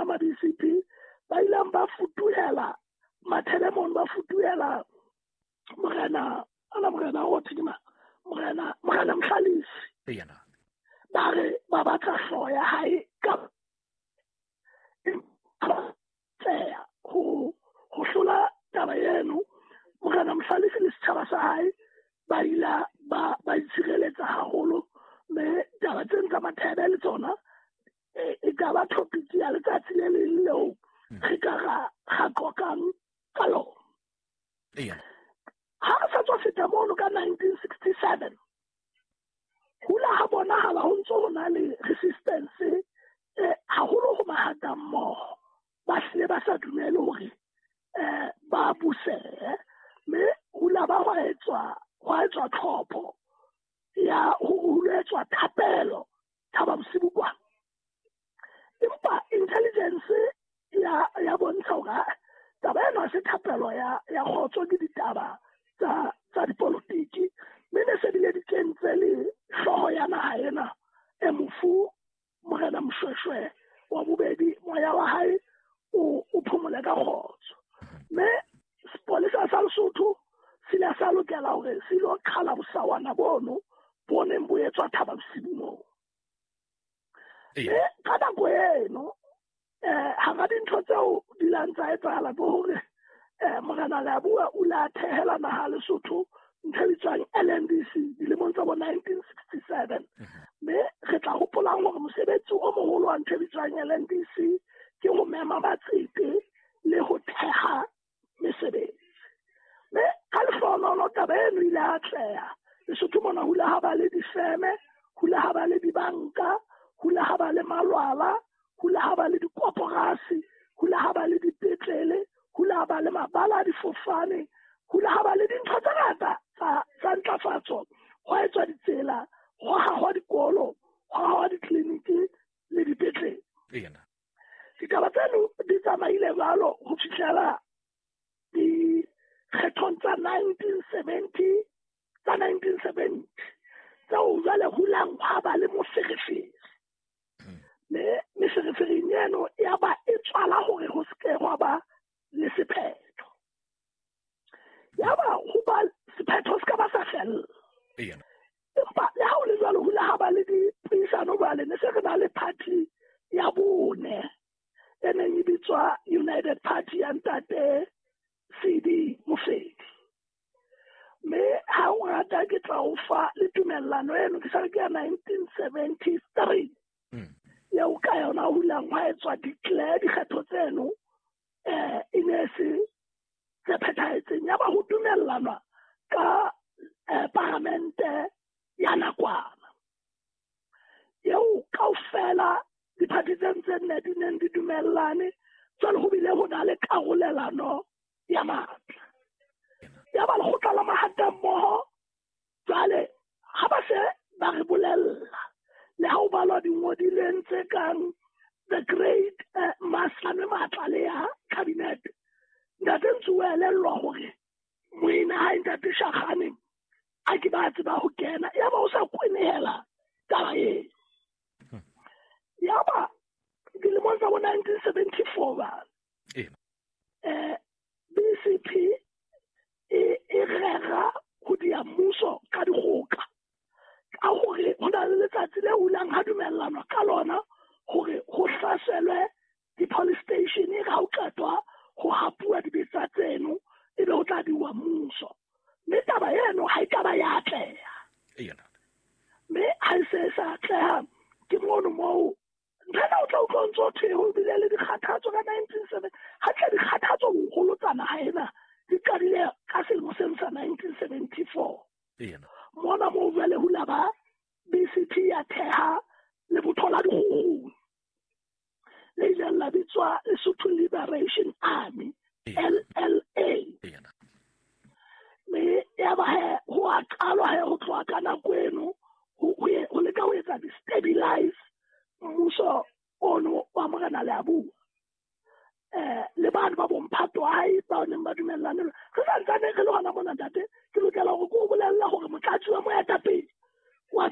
ma-BCP ba ileng ba futuhela Mathebe mono, ba futuhela morena ana, morena o thwe ke mang, morena Mhlalefi. Ba re ba batla hlooho ya hae ka tseya ho hlola taba eno. Morena Mhlalefi le setjhaba sa hae ba ila ba itshireletsa haholo, mme taba tseno tsa Mathebe le tsona e ka ba topic ya letsatsi le leng leo re ka ra qoqang ka lona. Ha re sa tswa feta mono ka 1967, hula ha bonahala ho ntso ho na le resistance haholo ho mahata mmoho. Ba hlile ba sa dumele hore ba busehe, mme hula ba hwa etswa tlhopho ya ho etswa thapelo Thaba Bosiu kwa. Empa intelligence ya bontsha hore taba ena ha se thapelo ya kgotso, ke ditaba tsa dipolotiki, mme ne se bile di kentse le hlooho ya naha ena e mofu morena Moshoeshoe wa bobedi, moya wa hae o phomole ka kgotso. Mme sepolesa sa Lesotho se ile sa lokela hore se ilo qhala bosawana bono bo neng bo etswa Thaba Bosiu moo. Mme ka nako eno hara dintho tseo di lang tsa etsahala ke hore morena Leabua o ile a thehela naha Lesotho ntho e bitswang LNDC dilemong tsa bo 1967. Mme re tla hopolang hore mosebetsi o moholo wa ntho e bitswang LNDC ke ho mema matsete le ho theha mesebetsi. Mme ka lehlohonolo taba eno ile atleha. Lesotho mona ho ile ha ba le difeme, ho ile ha ba le dibanka, ho ile ha ba le malwala, ho ile ha ba le dikoporasi, ho ile ha ba le dipetlele, ho ile ha ba le mabala a difofane, ho ile ha ba le dintho tse ngata tsa ntlafatso. Ho etswa ditsela, ho hahwa dikolo, ho hahwa ditleliniki le dipetlele. Ditaba tseno di tsamaile jwalo ho fihlela dikgethong tsa 1970 tseo jwale hulang hwa ba le moferefere. Mme meferefereng eno ya ba e tswala hore ho se ke hwa ba le sephetho. Ya ba ho ba sephetho se ka ba sa fella. Empa le ha ho le jwalo, ho ile ha ba le dipuisano jwale, ne se re na le party ya bone e neng e bitswa United Party ya ntate CD Mofedi. Mme ha o rata ke tla o fa le tumellano eno, ke sa re ke ya 1973. Eo ka yona ho ilang hwa etswa declare dikgetho tseno e ne se tse phethahetseng. Ya ba ho dumellanwa ka paramente ya nakwana eo kaofela diphathi tse tse nne di neng di dumellane. Jwale ho bile ho na le karolelano ya matla. Ya ba lekgotla la mahata mmoho jwale ha ba se ba re bolella le ha o balwa dingodilweng tse kang The Great Maslame matla le ya cabinet, ntate ntse o elellwa hore moena hae ntate Shakgane a ke ba tseba ho kena, ya ba o sa kwenehela taba eo. Ya ba dilemong tsa bo 1974 ba BCP e rera ho dia mmuso ka dikgoka, ka hore ho na le letsatsi le hulang ha dumellanwa ka lona hore ho hlaselwe di-police station, ha o qetwa ho hapuwa dibetsa tseno ebe ho tla diwa mmuso. Mme taba eno ha e ka ba ya atleha. Mme ha e se sa atleha, ke mono moo ntho ena o tla utlwa ntso thwe ho bile le dikgathatso ka 1970. Ha tle dikgathatso boholo tsa naha ena di qadile ka selemo seno sa 1974. Mona moo jwale ho la ba BCP ya theha lebotho la dikgukguni le ileng la bitswa Lesotho Liberation Army, LLA. Mme ya ba he ho a qalwa he ho tloha ka nako eno ho leka ho etsa di-stabilize mmuso ono wa morena Leabua. Le bana ba bomphato wa hae ba neng ba dumellane. Re sa ntsane re le hona mona ntate, ke lokela hore ke o bolella hore motlatsi wa moetapele wa